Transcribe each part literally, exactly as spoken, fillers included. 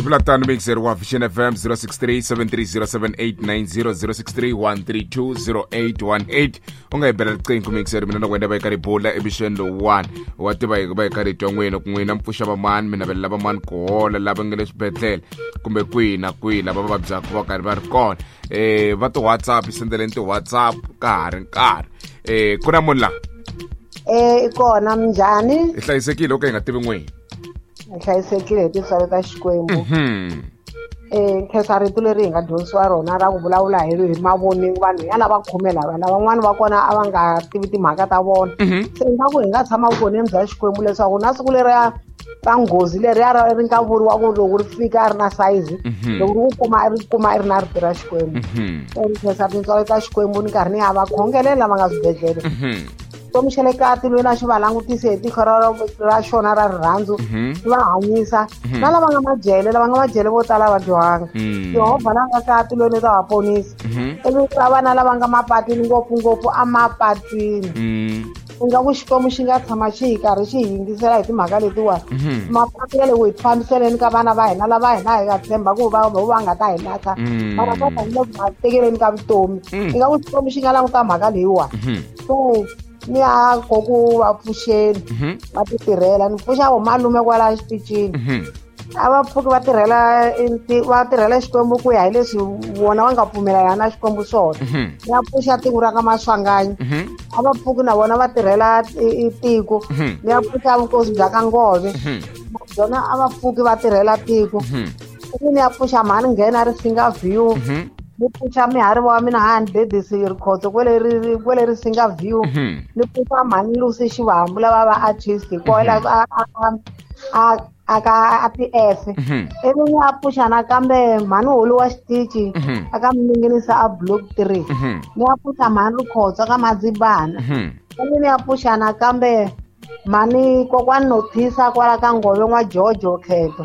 Vula tano mixer wa Vision F M zero six three seven three zero seven eight nine zero zero six three one three two zero eight one eight. U nga hi bela riqingho mixer mina na wena va eka ribola emission one. Wa tiva hi va eka rito n'wina ku n'wina mpfuxa vamani mina vela vamani ku hola lava nga le swibedhlele kumbe kwihi na kwihi lava va vabyaka va karhi va ri kona. Eh va ti WhatsApp sendeleni ti WhatsApp ka ha ri nkarhi. Eh ku na munhu la? Eh i kona minjhani? Hi hlayisekile o ka hi nga tivi n'wina. Hi hlayisekile hi tintswalo ta Xikwembu. Mhm. Eh khensa rito leri hi nga dyondzisiwa rona ra ku vulavula hi hi mavoningo vanhu ya lava khume lava lavan'wana va kona a va nga tivi timhaka ta vona. Se ingaku hi nga tshama vukoneni bya Xikwembu leswaku na siku leriya ra nghozi leriya ra ri nga vuriwa ku loko ri fika a ri na sayizi loko ri ku kuma ri kuma i ri na rito ra Xikwembu. Se khensa tintswalo ta Xikwembu ni karhi ni ya va khongelela lava nga swibedhlele. Xikwembu xa le ka tilweni a xi va langutise hi tihlo ra ra xona ra rirhandzu xi va hanyisa na lava nga majele lava nga majele vo tala va dyohanga. Yehovha la nga ka tilweni u ta va ponisa. Ivi ka vana lava nga mapatwini ngopfungopfu emapatwini ingaku Xikwembu xi nga tshama xi hi karhi xi hi yingisela hi timhaka letiwani. Mapatu ya le ku hi fambiseleni ka vana va hina lava hina hi nga tshemba ku va va nga ta hi lahla mara va ta hi le ku va tekeleni ka vutomi. Ingaku Xikwembu xi nga languta mhaka leyiwani. So ni ya koku va pfuxeni va ti tirhela ni pfuxa vo malume kwala xitichini a va pfuki va tirhela va tirhela Xikwembu ku ya hi leswi vona va nga pfumelana na Xikwembu swona. Ni ya pfuxa tiko ra ka Maswanganyi a va pfuki na vona va tirhela tiko. Ni ya pfuxa vukosi bya ka Ngove byona a va pfuki va tirhela tiko. Ivi ni ya pfuxa mhani nghena ri singa view ni pfuxa mihari wa mina hani dedisi rikhotso kwele ri kwele ri singa view ni pfuxa mhani Lucy Xivambu lava va artist kwala a a a ka a P F. Ivi ni ya pfuxa nakambe mhani holo wa xitichi aka minginisa a block three. Ni ya pfuxa mhani Rikhotso ka Madzibana. Ivi ni ya pfuxa nakambe mhani kokwani Nothisa kwala ka Ngove n'wa Jojo Kheto.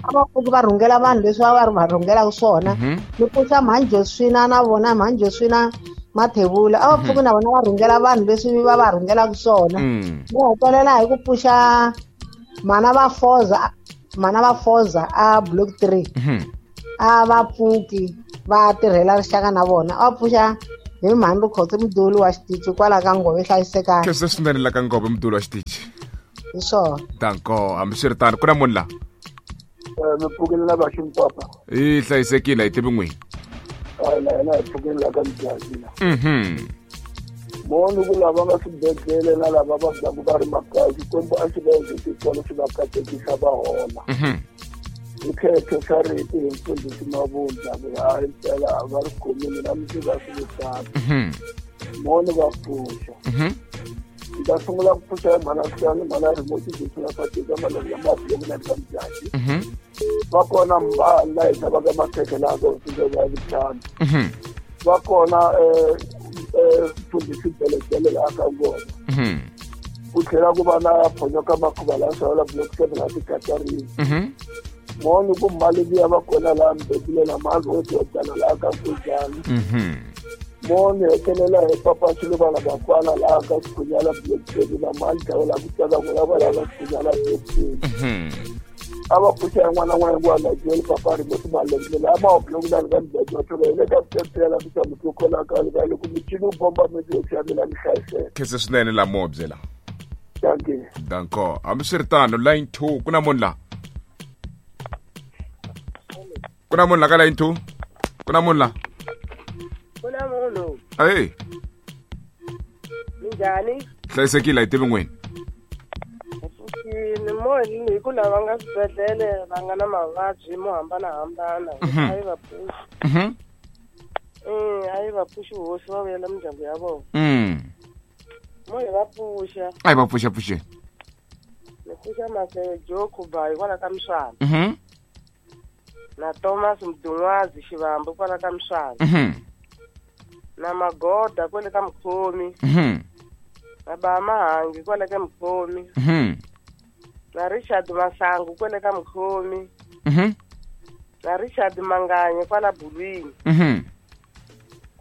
A va pfuki va rhungela vanhu leswi va va va rhungelaka swona. Ni pfuxa mhani Joswina na vona mhani Joswina Mathebula a va pfuki na vona va rhungela vanhu leswi va va rhungelaka swona. Ni hetelela hi ku pfuxa mana va Foza mana va Foza a block three. A va pfuki va tirhela rixaka na vona. A va pfuxa hi mhani Rikhotso muduli wa xitichi kwala ka Ngove hlayisekani. Khensa swinene la ka Ngove muduli wa xitichi. Hi swona. Danko hambiswiritano ku na munhu la? Mi pfukile la va Ximpapa. Hi hlayisekile hi tivi n'wina. Hayi na hina hi pfukile la ka Mjazila. Mhm. Moni ku lava nga swibedhlele na lava vabyaka va ri makaya Xikwembu a xi va endli tintswalo xi va katekisa va hola. Hi khetho xa rito hi mfundhisi Mavundla ku hayi mpela va ri khomile na mundzuku a swi vitana. Moni va pfuxa. Ni ta sungula ku pfuxa hi mhana Siyani mhana Remote Josina Fatika malembe lama block na ka Mjaji. Va kona mbala hi xavaka makhekhe laha ka hosi ya vutlhanu. Va kona mfundhisi Belejele laha ka Ngove. Ku tlhela ku va na Phonyoka Makhuva laha xavela block seven la Tikatarini. Moni ku mali liya va kona laha Mbebule na mali wo dyana laha ka Nkujani. Moni hetelela hi papa Xiluvana Bakwana laha ka Xikhunyana block seven na mali dlawela ku tsaka n'wina va laha ka Xikhunyana block seven. A va pfuxa yin'wana na n'wana hinkwayo jele papa Remote malembe laha ma block nine ka Mjaji wa thola hi le ka switepela ku xa mutokhola ka le ka loko michini wu bomba miti yo xavela mi hlayiseka. Khensa swinene la mobye la. Dankie. Danko hambiswiritano line two ku na munhu la? Ku na munhu la ka line two? Ku na munhu la? Ku na munhu. Hey. Minjhani? Hlayisekile hi tivi n'wina. Ni moni hi ku lava nga swibedhlele va nga na mavabyi mo hambanahambana a yi va pfuxi. Eh a yi va pfuxi hosi va vuyela mindyangu ya vona. Mo hi va pfuxa. A yi va pfuxa pfuxeni. Ni pfuxa Masejo Khuba hikwalaho ka Mswana. Na Thomas Mdungwazi Xivambu kwala ka Mswana. Na Magoda kwale ka Mkhomi. Na Ba Mahangi kwale ka Mkhomi. Na Richard Masangu kwale ka Mkhomi. Na Richard Manganye kwala Bulwini.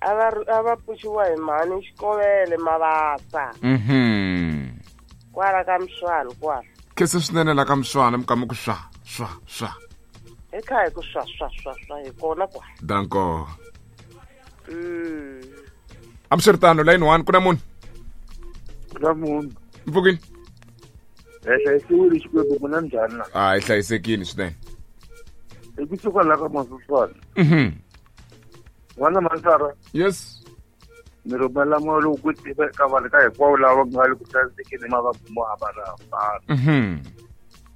A va a va pfuxiwa hi mhani Xikovele Mavasa. Kwala ka Mswana kwala. Khensa swinene la ka Mswana mi kama ku swa swa swa. Hi Ekhaya ku swa swa swa swa hi kona kwa. Danko. Mm. Amswiritano line one ku na munhu. Ku na munhu. Mpfukini. Eh hlayisiwile Xikwembu ku na njhani na? Ah, hi hlayisekile swinene. I kusuka la ka Masuswana. Mhm. N'wana Mansara. Yes. Ni rhumela moya lowu ku tiva eka vanhu ka hinkwavo lava nga le ku hlayisekeni mavabyi mo hambanahambana. Mhm.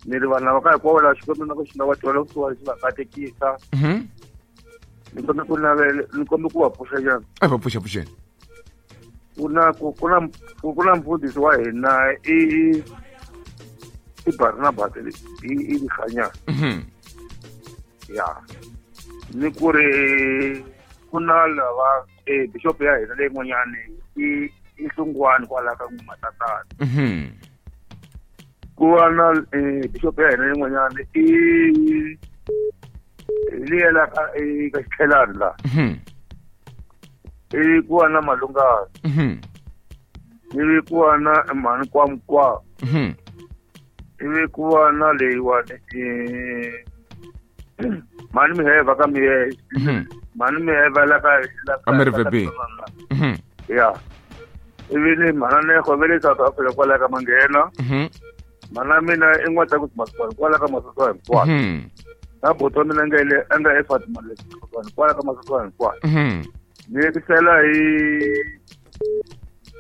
Ni ri vanhu lava ka hinkwavo lava Xikwembu na ku xi nga va twela kusuhani xi va katekisa. Mhm. Ni kombe ku navela, ni kombe ku va pfuxa nyana. A va pfuxa pfuxeni. Ku na ku ku na ku na mfundhisi wa hina i i Barnabas i i Khanya. Mhm. Ya. Ni ku ri ku na lava eh bishop ya hina leyi n'wanyani i i Hlungwani kwala ka Matatana. Mhm. Ku va na eh bishop ya hina leyi n'wanyani i liya la ka ka Xitlhelani la. Mhm. I ku va na Malungana. Mhm. Ivi ku va na mhani Kwamkwa. Mhm. Ivi ku va na leyiwani eh mhani Miheva ka Mihe. Mhm. Mhani Miheva la ka la ka America B. Mhm. Ya. Ivi ni mhana Nego va le South Africa kwala ka Manghena. Mhm. Mhana mina i N'wata ku Masukwana kwala ka Masukwana hinkwako. Mhm. Na buti wa mina nga le a nga eFatima le Masukwana kwala ka Masukwana hinkwako. Mhm. Ni yekisela hi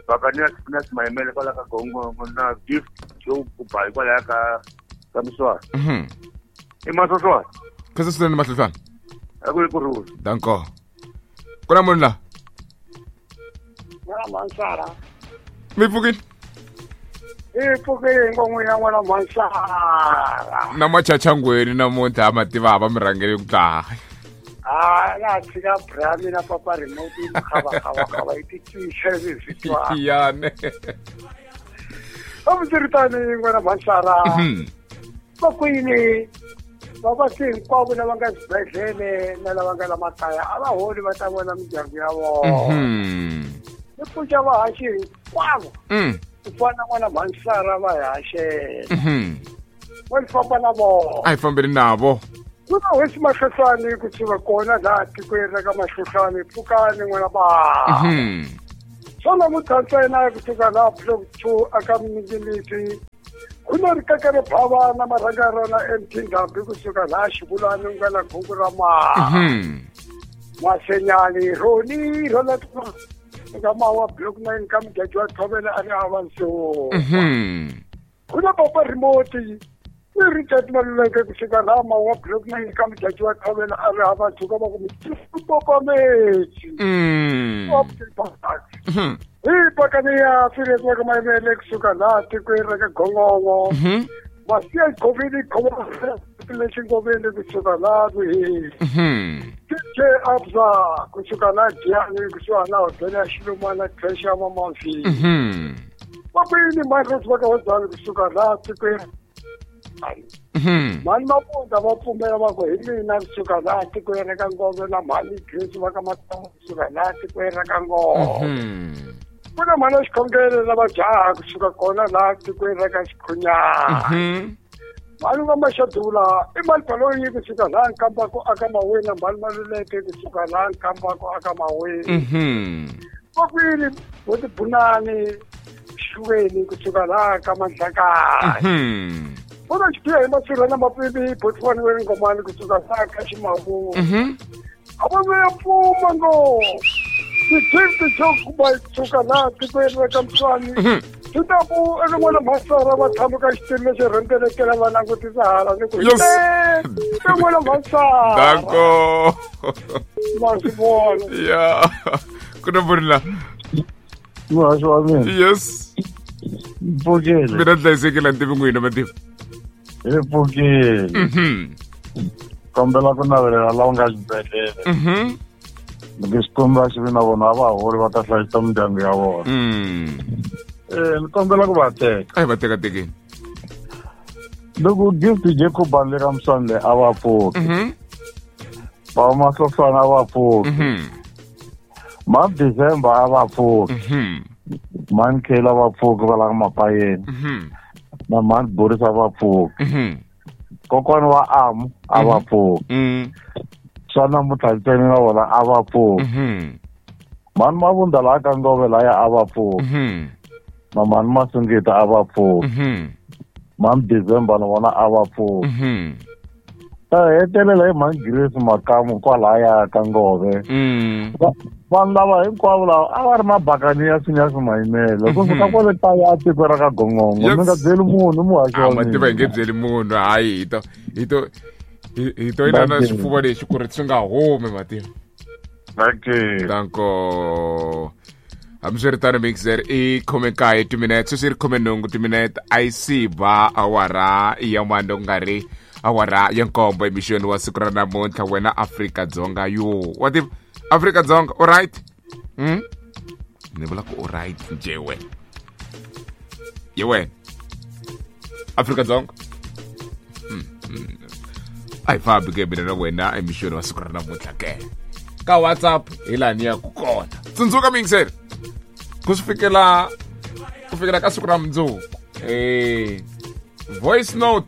Bakania na Simayimele kwala ka Gongongo na Gift Joe Kubayi kwala ka ka Miswana. Mhm. I Masoswana. Khaza swinene Mahlofana. A ku ri ku rhula. Danko. Ku na munhu la? N'wana Mansara. Mi pfukile? Hi pfukile n'wina n'wana Mansara. Na machachangweni namuntlha a ma tiva va mi rhangele ku dlaha. Ah, na tshika bra mina papa remote yi khava khava khava yi ticishe swi twa. Yane. Amswiritano n'wana Mansara. Mhm. Va kwini vavaswi hinkwavo lava nga xibedhlele na lava nga la makaya a va holi va ta vona mindyangu ya vona. Mhm. Ni pfuxa vahaxi hinkwavo. Mm. Ku fana na n'wana Mansara va hi haxela. Mhm. Va ni famba na vona. A hi fambeni navo. Ku na hosi Mahlohlwani ku suka kona laha tikweni ra ka Mahlohlwani pfukani n'wana ba. Mhm. Swona muthantsena kusuka laha block two aka Mingilisi. Ku na rikaka ri bava na marhanga rona M T Ndhambi kusuka laha Xivulani ku nga na khungu ra maha. Mhm. Masenyani Roni rona ka mawa block nine ka Mujaji wa Thovela a ri hava nsuku. Mhm. Ku na papa remote ni Richard Maluleke kusuka laha mawa block nine ka Mujaji wa Thovela a ri hava nsuku va ku papa metsi. Mm. Mhm. Hi pakani ya Firezi ka Mayimele kusuka laha tikweni ra ka Gongongo. Mhm. Masiya Goveni khoma lexi Ngoveni kusuka laha Vuhini. Mhm. T J Abza kusuka laha Giyani kusuka laha hotela ya Xilumana creche ya Mamavi. Mhm. Vakwini Marcos va ka Hodzani kusuka laha tikweni. Mhm. Mhani Mapunda va pfumela va ku hi mina kusuka laha tikweni ra ka Ngove na mhani Grace va ka Matongo kusuka laha tikweni ra ka Ngove. Mhm. Ku na mhani Xikhongelo na vajaha kusuka kona laha tikweni ra ka Xikhunyana. Mhm. Mhani va Maxadula i mhani Baloyi kusuka laha Nkambako aka Maweni na mhani Maluleke kusuka laha Nkambako aka Maweni. Mhm. Vakwini Boti Bunani Xiweni kusuka laha ka Mandlakaya. Mhm. Vona xipiya hi Masirha na Mapipi Botswana wa Ngomani kusuka laha ka Ximavu. Mhm. A va vuya pfuma ngo. Ti-gift to kuba kusuka laha tikweni ra ka Mswani. Mhm. Swi ta ku eka n'wana Mansara va tshama ka xitulu lexi rhendzelekela va langutisa hala ni ku Yes. eka n'wana Mansara. Danko. Ma swi vona. Ya. Ku na munhu la? Muhaxi wa mina. Yes. Mpfukile. Mina hlayisekile ni tivi n'wina matimu. Hi pfukile. Mhm. Kombela ku navelela lava nga xibedhlele. Mhm. Loko Xikwembu a xi vi na vona a va holi va ta hlayisa mindyangu ya vona. Mm. Eh, ni kombela ku va teka. A hi va teka tekeni. Loko Gift Jacob le ka Mswani a va pfuki. Mhm. Va Mahlofana a va pfuki. Mhm. Ma December a va pfuki. Mhm. Mhani Kayla a va pfuki va la ka Mapayeni. Mhm. Na mhani Boris a va pfuki. Mhm. Kokwana wa Amu a va pfuki. Swa namuntlha ntsena na vona a va pfuki. Mhani Mavunda laha ka Ngove laya a va pfuki. Na mhani Masingita a va pfuki. Mhani December na vona a va pfuki. Ta hetelela hi mhani Grace Makamu kwalaya ka Ngove. Vanhu lava hinkwavo lava a va ri mabakani ya swinyasi mayimele. Ku suka kwale kaya tiko ra ka Gongongo. Mi nga byeli munhu muhaxi wa mina. A mativa hi nge byeli munhu hayi hi to hi to hi to inana swifuva lexi ku ri swi nga humi mativa. Dankie. Danko. Hambiswiritano mixer i khume nkaye timinete sweswi ri khume nhungu timinete a yi si ba awara ya mando ku nga ri awara ya nkombo emixweni wa siku ra namuntlha wena Afrika-Dzonga yo wa tiva Afrika-Dzonga all right hmm? Ni vula ku all right njhe wena ye wena Afrika-Dzonga hmm. hmm. A hi fambi ke mina na wena emixweni wa siku ra namuntlha ke ka WhatsApp hi laha ni ya ku kona tsundzuka mixer ku swi fikela ku fikela ka siku ra mundzuku eh voice note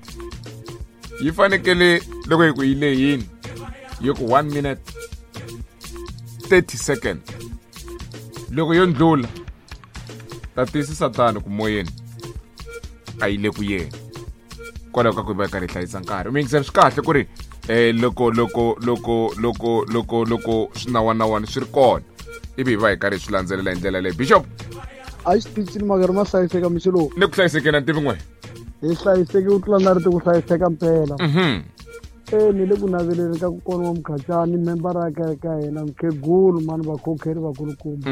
yi fanekele loko hi ku yi lehini yi ku one minute thirty second loko yo ndlula ta tiyisisa tano ku moyeni a yi le ku yeni kwalaho ka ku va karhi hlayisa nkarhi mixer swi kahle ku ri eh loko loko loko loko loko loko swinawanawani swi ri kona ivi hi va hi karhi swi landzelela hi ndlela leyi Bishop a xitichini makari ma hlayiseka mixo lowu ni ku hlayisekeni a ni tivi n'we hi hlayiseki ku tlula na ri ti ku hlayiseka mpela e ni le ku naveleni ka kokwana wa Mukhacani membara ya kereke ya hina mukhegulu mani vakhokheri vakulukumba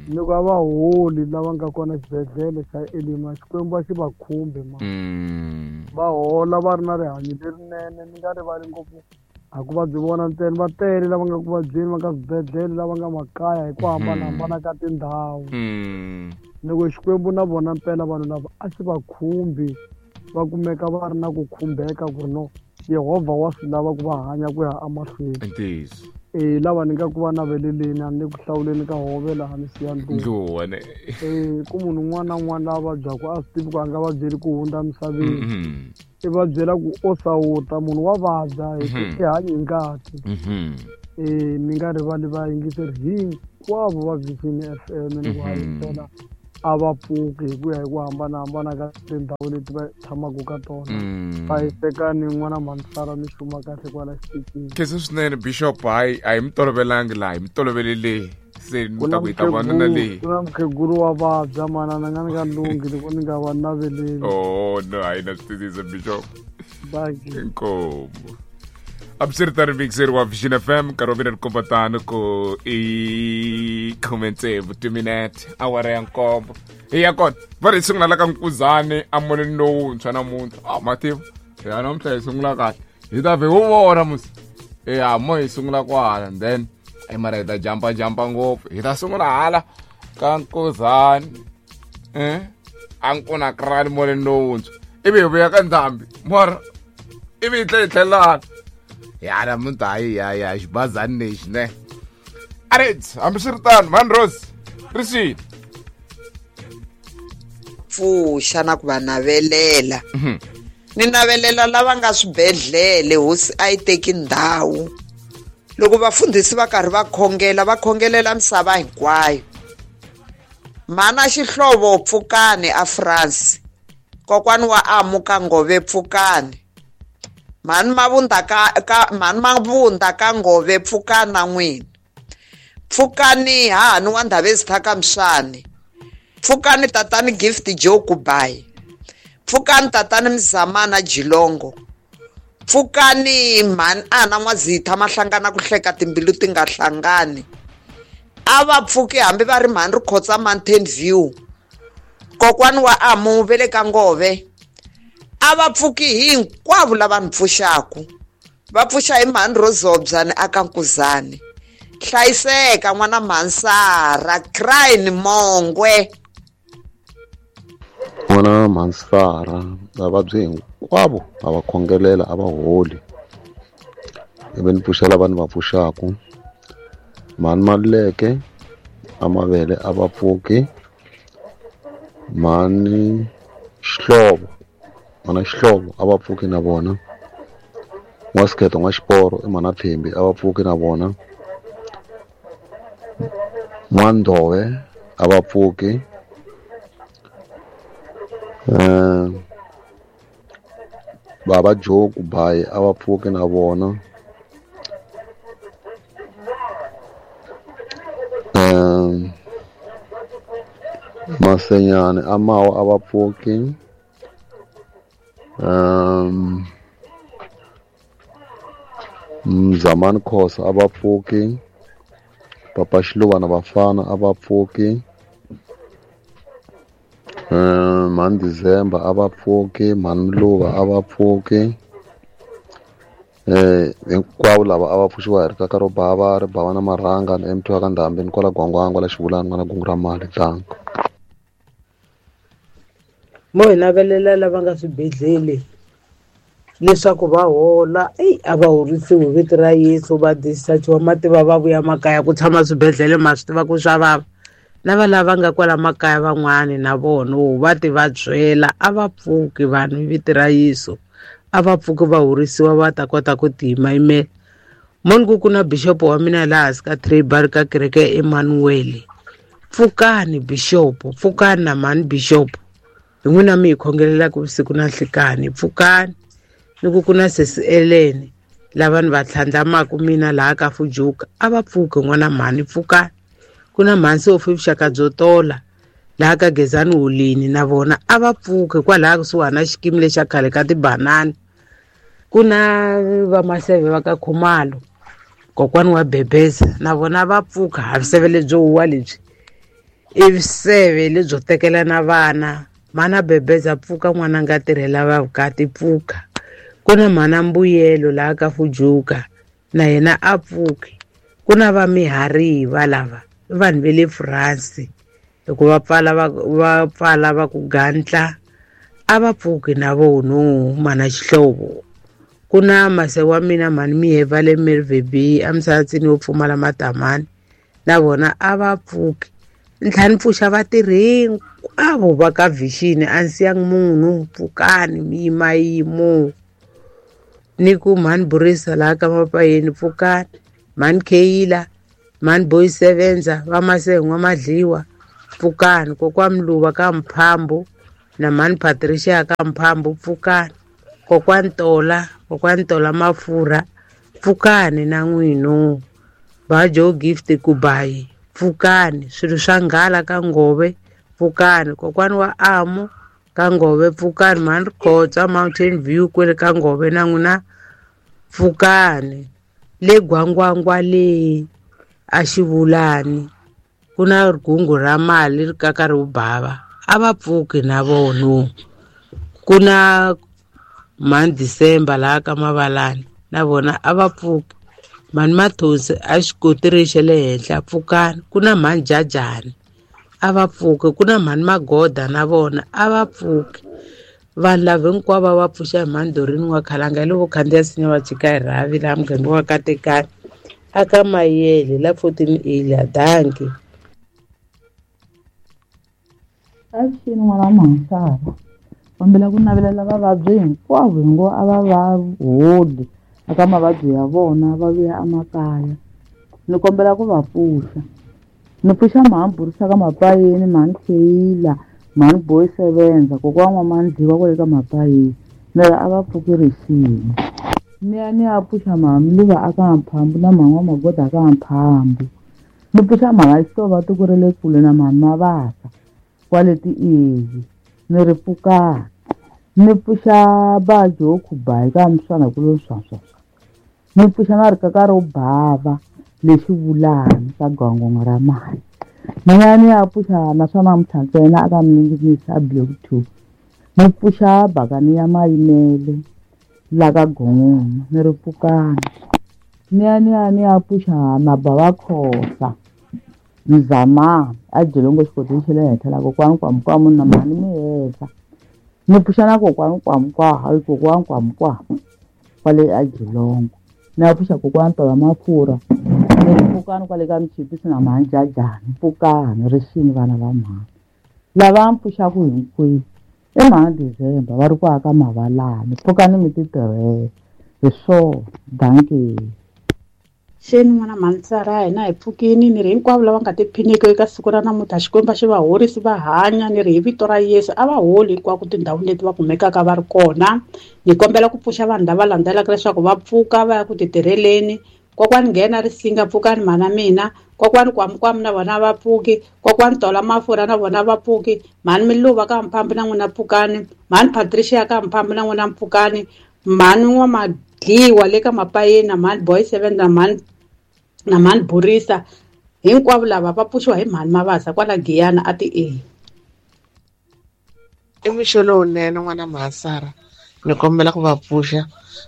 ni ku a va holi lava nga kona xibedhlele xa Elima Xikwembu a xi va khumbi ma va hola va ri na rihanyo lerinene ni nga rivali ngopfu a ku vabyi vona ntsena va tele lava nga ku vabyeni va nga swibedhlele lava nga makaya hi ku hambanahambana ka tindhawu loko Xikwembu na vona mpela vanhu lava a xi va khumbi va kumeka va ri na ku khumbeka ku ri no Yehovha wa swi lava ku va hanya ku ya emahlweni e lava ni nga ku va naveleleni a ni le ku hlawuleni ka hove laha ni siya ndluwa ne e ku munhu un'wana na un'wana lava vabyaka a swi tivi ku a nga vabyeli ku hundza emisaveni i va byela ku o sawuta munhu wa vabya hi i hanyi hi ngati e mi nga rivali vayingiseri hinkwavo va Vision F M ni ku hayisela a va pfuki hi ku ya hi ku hambanahambana ka tindhawu leti va tshamaka ka tona va hisekani n'wana Mansara mi xuma kahle kwala xitichini khensa swinene Bishop hayi a hi mi tolovelangi laha hi mi tolovele leyi se ni ta ku hi ta vona na leyi ku na mukhegulu wa vabya manana nga ni nga lunghi loko ni nga va naveleli oh no hayi na swi twisisa Bishop dankie inkomu Absirtari mixer wa Vision F M nkarhi wa mina ni komba tano ku i khume tsevu timinete awara ya nkombo hi ya kona va ri hi sungula la ka Nkuzani emolweni lowuntshwa namuntlha a mativa ya namuntlha hi sungula kahle hi ta vhe wu vona musi ya mo hi sungula kwala and then e mara hi ta jampa jampa ngopfu hi ta sungula hala ka Nkuzani eh a nkuna krani molweni lowuntshwa ivi hi vuya ka Ndhambi mara ivi hi tlhela hi tlhelana ya namuntlha hayi ya ya xibazani lexi ne arit hambiswiritano mhani Rose ri swini pfuxa na ku va navelela ni navelela lava nga swibedhlele hosi a yi teki ndhawu loko vafundhisi va karhi va khongela va khongelela misava hinkwayo mana Xihlovo pfukani a France kokwani wa Amu ka Ngove pfukani mhani Mavunda ka ka mhani Mavunda ka Ngove pfukana n'wina pfukani hahani wa Ndhavezitha ka Mswani pfukani tatani Gift Joe Kubayi pfukani tatani Mzamana Jilongo pfukani mhani Ana N'wazitha mahlangana ku hleka timbilu ti nga hlangani a va pfuki hambi va ri mhani Rikhotsa Mountain View kokwani wa Amu ve le ka Ngove a va pfuki hinkwavo lava ni pfuxaku va pfuxa hi mhani Rozobyani aka Nkuzani hlayiseka n'wana Mansara Crine Mongwe n'wana Mansara vavabyi hinkwavo a va khongelela a va holi ivi ni pfuxela vanhu va pfuxaku mhani Maluleke a mavele a va pfuki mhani Xihlovo mana Xihlovo a va pfuki na vona N'wasikhetho N'waxiporo i mhana Thembi a va pfuki na vona. N'wandhove a va pfuki. Eh Baba Joe Kubayi a va pfuki na vona. Eh Masenyane a Mawa a va pfuki. Um Mzamani Khosa a va pfuki. Papa Xiluva na Vafana a va pfuki. Um Mhani December a va pfuki, Mhani Mluva a va pfuki. Eh hinkwavo lava a va pfuxiwa hi rikaka ro bava ri bava na marhanga na M T wa ka Ndhambi ni kwala Gwangwangwa la Xivulani n'wana gungu ra mali tlangu. Mo hi navelela lava nga swibedhlele leswaku va hola, eyi a va horisiwi hi vito ra Yesu, va dischargiwa mativa va vuya makaya ku tshama swibedhlele ma swi tiva ku swa vava. Na va lava nga kwala makaya van'wani na vona va ti va byela a va pfuki vanhu hi vito ra Yesu, a va pfuki va horisiwa va ta kota ku tiyimayimela. Moni ku ku na bishop wa mina laha hansi ka Tribal ka kereke ya Emmanuel. Pfukani bishop, pfukani na mhani bishop. Hi n'wina mi hi khongelelaka vusiku na nhlikani, pfukani. Ni ku ku na sesi Ellen lava ni va tlhandlamaka mina laha ka Fujuka a va pfuki n'wana mhani, pfukani. Ku na mhani Sophie vuxaka byo tola laha ka Gezani Holini na vona a va pfuki kwalaha kusuhana na xikimi lexa khale ka tibanani. Ku na vamaseve va ka Khumalo kokwani wa Bebeza na vona va pfuka, ha viseve lebyo huwa lebyi i viseve lebyo tekela na vana. Mana Bebeza pfuka n'wana nga tirhela va vukati pfuka. Ku na mhana Mbuyelo laha ka Fujuka na yena a pfuki. Ku na va Mihariva lava i vanhu va le France loko va pfala va va pfala va ku gantla a va pfuki na vona mana Xihlovo. Ku na mase wa mina mhani Miheva le Mervebi eMsatsini wo pfumala matamani na vona a va pfuki. Ntlhanu pfuxa vatirhi hinkwavo va ka Vision a ni siyangi munhu, pfukani mi yimayimo. Ni ku mhani Burisa laha ka Mapayeni pfukani, mhani Kheyila, mhani Boy Sevenza va Masengwa Madliwa pfukani, kokwa Mluva ka Mphambu na mhani Patricia ka Mphambu pfukani, kokwa Ntola, kokwa Ntola Mafurha pfukani na n'wino. Va Joe Gift Kubayi pfukani, swilo swa nghala ka Ngove pfukani, kokwani wa Amo ka Ngove pfukani, mhani Rikhotsa Mountain View kwele ka Ngove na n'wina pfukani. Le Gwangwangwa le a Xivulani ku na rigungu ra mali ri kaka ri bava a va pfuki na vona. Ku na mhani December laha ka Mavalani na vona a va pfuki. Mhani Mathonsi a xikotiri xa le henhla pfukani. Ku na mhani Jajani a va pfuki. Ku na mhani Magoda na vona a va pfuki. Vanhu lava hinkwavo va pfuxa hi mhani Dorini wa Khalanga hi loko khandziya sinya va chika hi rhavi laha muganga wa Katekani aka Mayele la fourteen A la danki. Avuxeni n'wana wa Mhansava, kombela ku navelela vavabyi hinkwavo hi ngo a va va holi eka mavabyi ya vona va vuya emakaya. Ni kombela ku va pfuxa. Ni pfuxa mhani Burisa ka Mapayeni, mhani Kheyila, mhani Boy Sevenza, kokwana wa Mandliwa kwale ka Mapayeni. Ni ri a va pfuki rixini. Ni ya ni ya pfuxa mhani Mluva aka Mphambu na mhani wa Magoda aka Mphambu. Ni pfuxa mhani Xihlovo tiko ra le kule na mhani Mavasa kwale ti-Easy. Ni ri pfukani. Ni pfuxa ba Joe Kubayi ka Mswana kulo swa swa swa. Ni pfuxa na rikaka ro bava le Xivulani ka Gwangwangwa ra mali. Ni ya ni ya pfuxa na swa namuntlha ntsena aka Mninginisi a Block two. Ni pfuxa bakani ya Mayimele la ka Gongono ni ri pfukani. Ni ya ni ya ni ya pfuxa na Baba Khosa Mzamani a Jolongo xikodweni xa le henhla la kokwani Kwamukwamu na mhani Mihehla. Ni pfuxa na kokwani Kwamukwa hayi kokwani Kwamukwa kwale a Jolongo. Ni ya pfuxa kokwani Tola Mafurha ni ri pfukani kwale ka Mchipisi na mhani Jajani pfukani rixini vana va mhani. Lava mi pfuxaka hinkwenu i mhani December va ri ku aka Mavalani pfukani mi ti tirhela. Hi swona, dankie. Xeni n'wana Mhansara hina hi pfukini ni ri hinkwavo lava nga tiphiniki eka siku ra namuntlha Xikwembu xi va horisi va hanya ni ri hi vito ra Yesu a va holi hinkwako tindhawini leti va kumekaka va ri kona. Ni kombela ku pfuxa vanhu lava landzelaka leswaku va pfuka va ya ku titirheleni. Kokwani nghena risinga pfukani mhana mina, kokwani kwamukwamu na vona va pfuki, kokwani tola mafurha na vona va pfuki, mhani Miluva ka Mphambi na n'wina pfukani, mhani Patricia ka Mphambi na n'wina pfukani, mhani N'wamadliwa le ka Mapayeni na mhani Boy Seven na mhani na mhani Burisa, hinkwavo lava va pfuxiwa hi mhani Mavasa kwala Giyani a ti e. I mixo lowunene n'wana Mhansara, ni kombela ku va pfuxa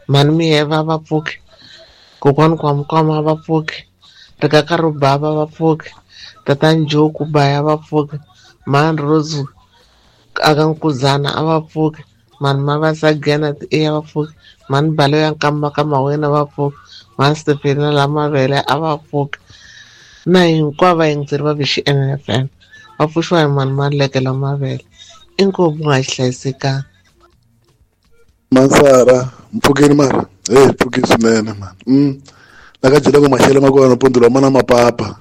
mhani Miyeva va pfuki, kokwani Kwamkwama va pfuki, rikaka ro bava va pfuki, tatani Joe Kubaya va pfuki, mhani Rose aka Nkuzana a va pfuki, mhani Mavasa Giyani ti e va pfuki, mhani Balo ya Nkamba ka Mawena va pfuki, mhani Stefena la Mavele a va pfuki, na hinkwavo vayingiseri va V X N F M va pfuxiwa hi mhani Maluleke la Mavele. Inkomu nga hlayisekanga. Mansara mpfukeni mara hey pfuki swinene man. Mm la ka jela ku maxele ma kona mpundzu lowu mana mapapa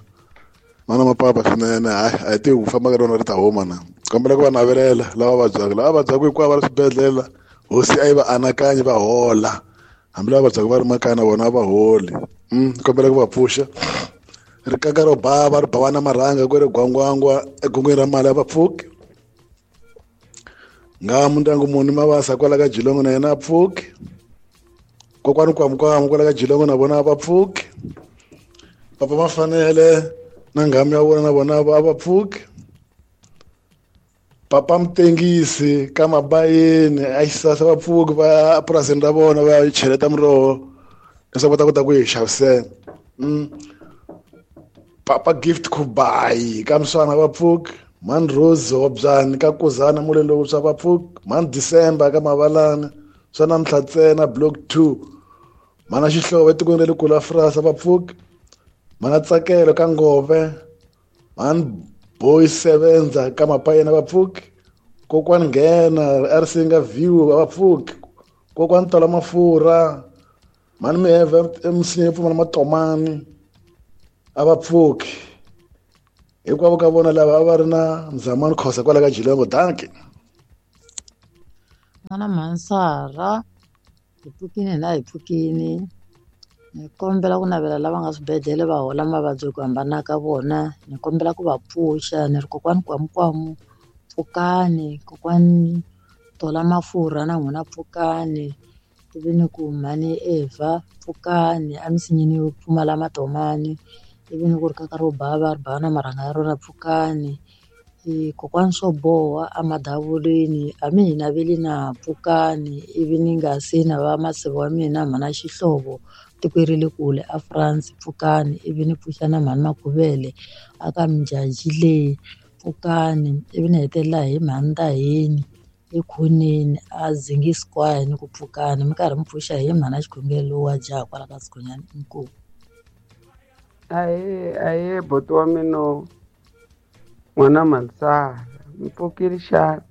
mana mapapa swinene. Hayi a hi tivi ku famba ka rona ri ta huma na. Kombela ku va navelela lava vabyaka lava vabyaka hinkwavo va ri swibedhlele hosi a yi va anakanyi va hola, hambi lava vabyaka va ri makaya na vona a va holi. Mm kombela ku va pfuxa rikaka ro bava ri bava na marhanga ku ri gwangwangwa egongweni ra mali a va pfuki. Nga mundyangu muni Mavasa kwala ka Jilongo na yena a pfuki, kokwani Kwamukwamu kwala ka Jilongo na vona a va pfuki, papa Mafanele na nghamu ya vona na vona a va pfuki, papa Mutengisi ka Mabayeni a xisasa va pfuki va purasini ra vona va cheleta miroho leswaku va ta kota ku yi xavisela. Mm. Papa Gift Kubayi ka Mswana va pfuki, mhani Rose Hobyani ka Kuzana muleni lowuntshwa va pfuki, mhani December ka Mavalana swa namuntlha ntsena block two, mhana Xihlovo etikweni ra le kule Frasa va pfuki, mhana Tsakelo ka Ngove, mhani Boy Sevenza ka Mapayena va pfuki, kokwani Nghena a Risinga View va pfuki, kokwani Tola Mafurha, mhani Miheve eMisinya yo pfumala matomani a va pfuki. Hinkwavo ka vona lava a va ri na Mzamani Khosa kwala ka Jilongo. Dankie. N'wana Mhansara hi pfukini na hi pfukini ni kombela ku navela lava nga swibedhlele va hola mavabyi ku hambana ka vona, ni kombela ku va pfuxa ni ri kokwani Kwamukwamu pfukani, kokwani Tola Mafurha na n'wina pfukani, ivi ni ku mhani Eva pfukani emisinyeni yo pfumala matomani, ivi ni ku ri kaka ro bava ri bava na marhanga ya rona pfukani, kokwani swo boha emadavuleni a mi hi naveli na pfukani, ivi ni nga se na va masivo wa mina mhana Xihlovo tiko ri le kule a France pfukani, ivi ni pfuxa na mhani Makuvele aka Mjaji le pfukani, ivi ni hetelela hi mhani Ndaheni ekhoneni a Zingi Square ni ku pfukani, mi karhi mi pfuxa hi mhana Xikhongelo wa jaha kwala ka Sigonyani. Inkomu. Aye aye buti wa mina n'wana Mhansara mpfukile xana?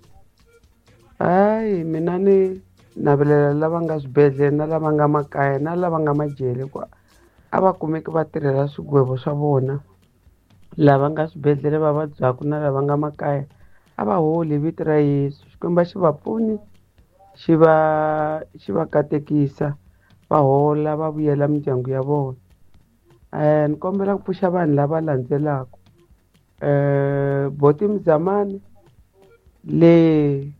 Hayi mina ni navelela lava nga swibedhlele na lava nga makaya na lava nga majele ku a va kumeki va tirhela swigwevo swa vona. Lava nga swibedhlele va vabyaka na lava nga makaya a va holi hi vito ra Yesu. Xikwembu xi va pfuni xi va xi va katekisa va hola va vuyela mindyangu ya vona. Eh ni kombela ku pfuxa vanhu lava landzelaka. Eh Boti Mzamani le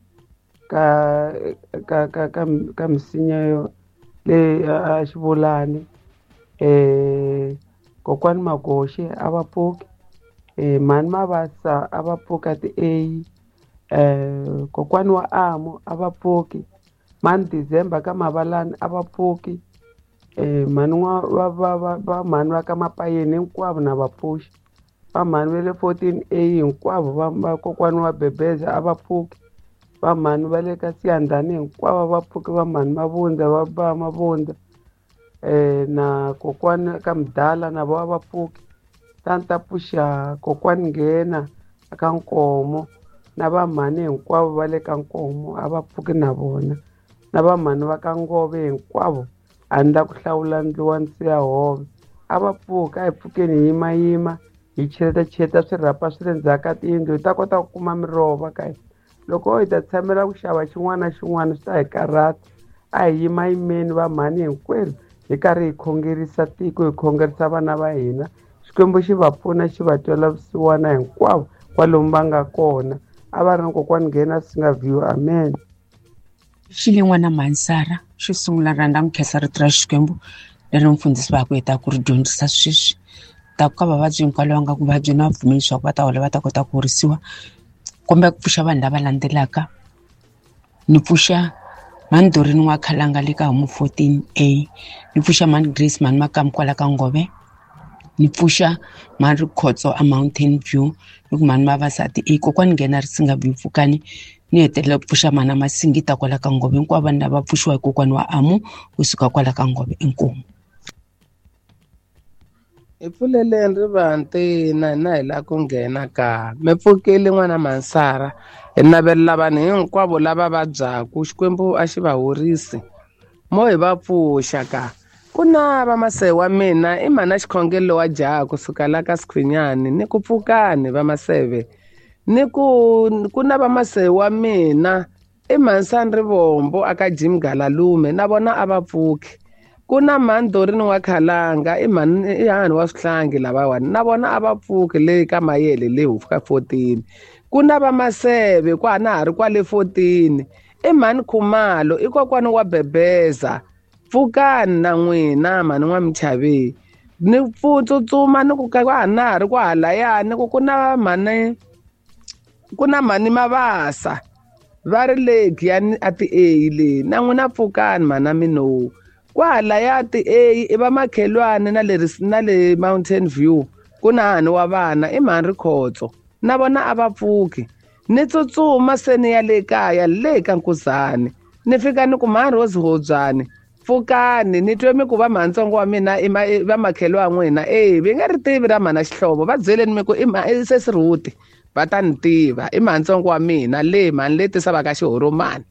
ka ka ka ka ka misinya yo le a Xivulani, eh kokwani Magoxe a va pfuki, eh mhani Mavasa a va pfuka ti A, eh kokwani wa Amo a va pfuki, mhani December ka Mavalani a va pfuki, eh mhani wa va va va va mhani va ka Mapayeni hinkwavo na va pfuxi, va mhani va le fourteen A hinkwavo va va kokwani wa Bebeza a va pfuki, va mhani va le ka Siyandhani hinkwavo va pfuki, va mhani Mavundza va va Mavundza eh na kokwani ka Mdala na vo a va pfuki, tani ta pfuxa kokwani Nghena aka Nkomo na va mhani hinkwavo va le ka Nkomo a va pfuki na vona, na va mhani va ka Ngove hinkwavo A ni la ku hlawula ndluwa ndzi ya hove. A va pfuka, a hi pfukeni hi yimayima, hi cheleta-cheleta swirhapa swi le ndzhaku ka tiyindlu hi ta kota ku kuma miroho va ka hina. Loko hi ta tshamela ku xava xin'wana na xin'wana swi ta hi karhata. A hi yimayimeni va mhani hinkwerhu hi karhi hi khongerisa tiko, hi khongerisa vana va hina. Xikwembu xi va pfuna, xi va twela vusiwana hinkwavo kwalomu va nga kona. A va ri na kokwani nghena swi nga view. Amen. Xile n'wana Mansara, xo sungula rhandza mi khensa rito ra Xikwembu leri mfundhisi va ku heta ku ri dyondzisa sweswi. Ta ku ka vavabyi hinkwavo lava nga ku vabyi na vapfumeli leswaku va ta hola va ta kota ku horisiwa. Kumbe ku pfuxa vanhu lava landzelaka. Ni pfuxa Mhani Dorini wa Khalanga le ka Home fourteen A. Ni pfuxa Mhani Grace Mhani Makamu kwala ka Ngove. Ni pfuxa Mhani Rikhotso a Mountain View. Ni ku Mhani Mavasati A. Kokwani nghena ri singa view pfukani. Ni hetelela ku pfuxa Mhani Masingita kwala ka Ngove. Hinkwavo vanhu lava pfuxiwa hi kokwani wa Amu kusuka kwala ka Ngove. Inkomu. Hi pfuleleni rivanti na hina hi lava ku nghena ka. Mi pfukile n'wana Mansara. Hi navelela vanhu hinkwavo lava vabyaku Xikwembu a xi va horisi. Mo hi va pfuxa ka. Ku na vamaseve wa mina i mhana xikhongelo wa jaha kusuka la ka Sikhwinyani ni ku pfukani vamaseve. Ni ku ku na vamaseve wa mina i Mhansani Rivombo aka Jim Galalume na vona a va pfuki. Ku na Mhani Dorini wa Khalanga i mhani i hani wa swihlangi lavawani na vona a va pfuki le ka Mayele le hufu ka fourteen. Ku na vamaseve kwa na ha ri kwale fourteen i Mhani Khumalo i kokwani wa Bebeza. Pfukani na n'wina mhani n'wa Michaveni. Ni tsutsuma ni ku ka na ha ri kwahalaya ni ku ku na mhani ku na mhani Mavasa va ri le Giyani a ti A le na n'wina pfukani mhana mino. Kwahalaya ti A i va makhelwani na le na le Mountain View ku na hani wa vana i Mhani Rikhotso na vona a va pfuki. Ni tsutsuma se ni ya le kaya le ka Nkuzani ni fika ni ku Mhani Rose Hobyani pfukani ni twe mi ku va mhantsongo wa mina i va makhelwa n'wina eh vi nga ri tivi ra mhana Xihlovo va byeleni mi ku i sesi Ruti va ta ni tiva i mhantsongo wa mina le mhani le tisavaka xihoromani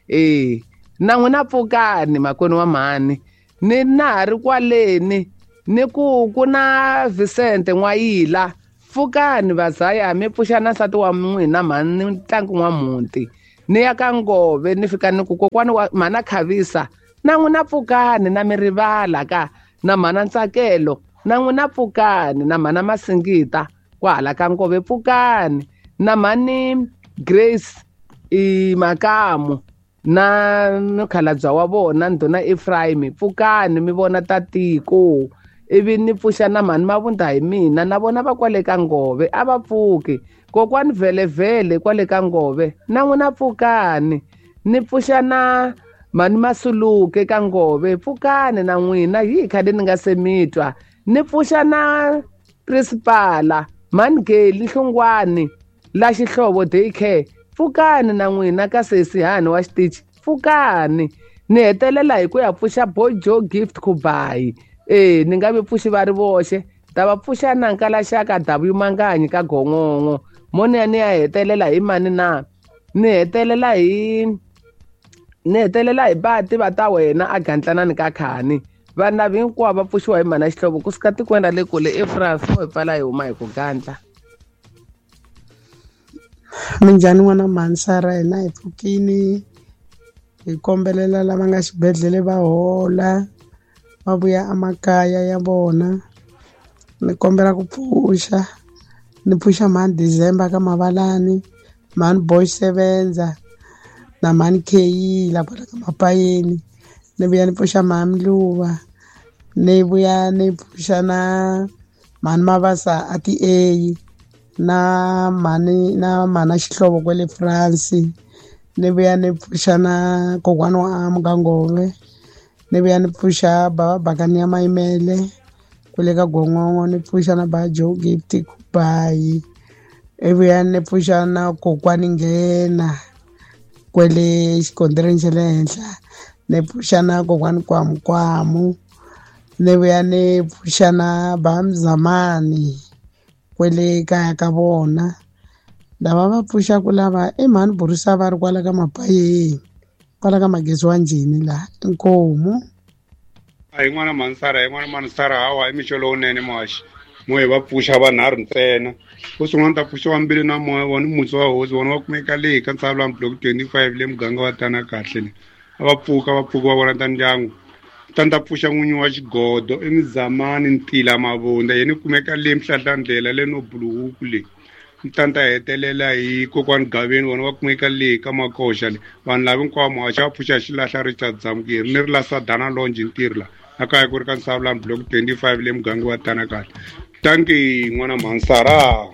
eh na n'wina pfukani makwenu wa mhani. Ni na ha ri kwaleni ni ku ku na Vicente N'wayila pfukani vazaya mi pfuxa na nsati wa n'wina mhani ntlangu wa muti. Ni ya ka Ngove ni fika ni ku kokwani wa mhana Khavisa na n'wina pfukani na mi rivala ka na mhana Ntsakelo na n'wina pfukani na mhana Masingita kwahala ka Ngove pfukani na mhani Grace i Makamu na mukhalabye wa vona ndhuna Ephraim pfukani mi vona ta tiko. Ivi ni pfuxa na mhani Mavunda hi mina na vona va kwale ka Ngove a va pfuki. Kokwani vhelevhele kwale ka Ngove na n'wina pfukani. Ni pfuxa na mhani Masuluke ka Ngove pfukani na n'wina hi khale ni nga se mi twa. Ni pfuxa na principala mhani Geli Hlongwani la Xihlovo daycare pfukani na n'wina ka sesi hani wa xitichi pfukani. Ni hetelela hi ku ya pfuxa Bojo Gift Kubayi eh ni nga vi pfuxi va ri voxe ta va pfuxa na Nkalaxaka W Manganyi ka Gongongo mo ni ya ni ya hetelela hi mani na ni hetelela hi ni hetelela hi bati va ta wena a gantlanani ka khani. Vanhu lava hinkwavo va pfuxiwa hi mhana Xihlovo kusuka tikweni ra le kule eFrance mo hi pfala hi huma hi ku gandla. Minjhani n'wana Mansara, hina hi pfukini hi kombelela lava nga xibedhlele va hola va vuya emakaya ya vona. Ni kombela ku pfuxa ni pfuxa mhani December ka Mavalani, mhani Boy Sevenza na mhani Keyila kwala ka Mapayeni. Ni vuya ni pfuxa mhani Luva, ni vuya ni pfuxa na mhani Mavasa a ti A na mhani na mhana Xihlovo kwale France. Ni vuya ni pfuxa na kokwana wa Amu ka Ngove. Ni vuya ni pfuxa baba Bakani ya Mayimele kwale ka Gongongo. Ni pfuxa na ba Joe Gift Kubayi. Ivuya ni pfuxa na kokwani Nghena kwele xikontireni xa le henhla. Ni pfuxa na kokwani Kwamukwamu. Ni vuya ni pfuxa na ba Mzamani kwele kaya ka vona. Lava va pfuxaku lava i mhani Borisa va ri kwala ka Mapayeni kwala ka magezi wa njhini laha inkomu. A hi n'wana Mansara, hi n'wana Mansara hawa i mixo lowunene muhaxi. Mo hi va pfuxa vanharhu ntsena. Wo sungula ni ta pfuxa wa Mbilu na Moya, vona mutsi wa hosi, vona va kumeka leyi ka Ntshavulani block twenty-five le muganga wa Tana kahle le. A va pfuka va pfuka va vona ta ndyangu. Ta ni ta pfuxa n'winyi wa xigodo i Mizamani Ntila Mavunda, yena i kumeka le Mhlahlandlela le no Buluhuku le. Ta ni ta hetelela hi kokwani Gaveni, vona va kumeka le ka Makoxa le. Vanhu lava hinkwavo muhaxi va pfuxa xilahla Richard Zamukeri ni ri la Sadana Longe ntirho la. A kaya ku ri ka Ntshavulani block twenty-five le muganga wa Tana kahle. Thank you n'wana Mansara.